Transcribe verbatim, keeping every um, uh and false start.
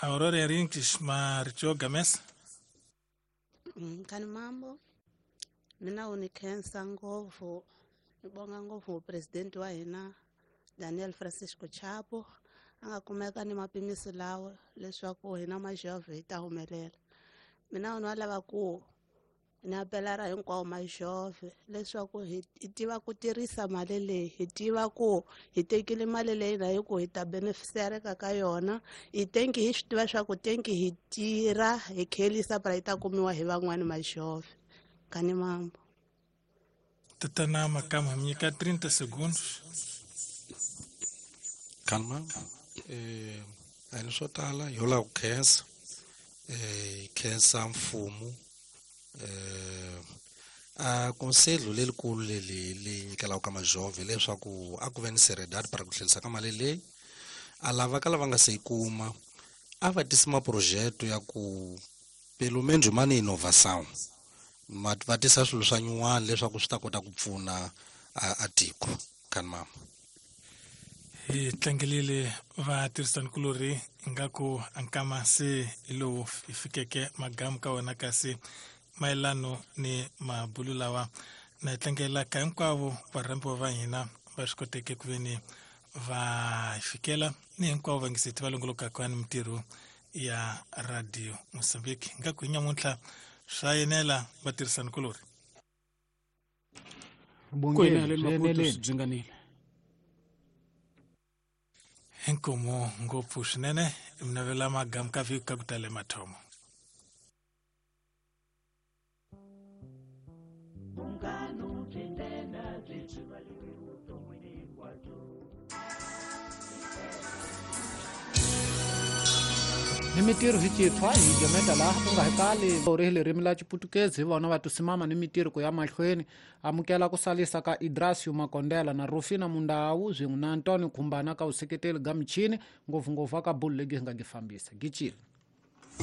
Aurora Henriques Maricho Games. Kani mambo mina u ni khensa ngopfu ni bonga ngopfu president wa hina Daniel Francisco Chapo a nga kumeka ni mapimiso lawa leswaku hina majove hi ta humelela. Mina u lava ku ni apelara hinkwawo majove leswaku hi tiva ku tirhisa mali leyi, hi tiva ku hi tekile mali leyi na hi ku hi ta beneficiareka ka yona. Hi tenki hi swi tiva swa ku tenki hi tirha hi khelisa para yi ta kumiwa hi van'wani majove. Kani mambo. Tatana Makamu nyika trinta segundos. Calma. Eh, a ni swo tala yo lava ku khensa. Eh, khensa mfumo. Eh, a conselho lelikulu leli li nyikelaka ka majove leswaku a ku ve ni seriedade para ku tlherisa ka mali leyi a lava ka lava nga se yi kuma a va tisi maprojeto ya ku pelo menos ma ni inovação ma va tisa swilo swa nyuwani leswaku swi ta kota ku pfuna a tiko. Kani mama hi tlangelile vatirhisanikulorhi ingaku ankama se hi lowu hi fikeke magamu ka wona kasi mayelano ni mabulu lawa na hi tlangela ka hinkwavo varhambiwa va hina va swi koteke ku veni va hi fikela ni hinkwavo vangiseti va longolokaka ni mintirho ya Radio Mozambique. Ingaku hi nyamuntlha swa yenela vatirhisanikulorhi ku yenela Maputo swi byi inkomo ngopfu swinene minavela magamu ka vhiki ka ku tale mathomo. Ni mitirho hi citshwa hi jometa laha u nga hi kali ri hi ririmi la Xiputukezi hi vona va tusimama ni mitirho ku ya mahlweni. Amukela ku salisa ka Idrasio Makondela na Rufina Mundawu swin'we na Antonio Khumbana ka vuseketeli ga michini ngopfungopfu aka bulu legi hi nga gi fambisa gicile.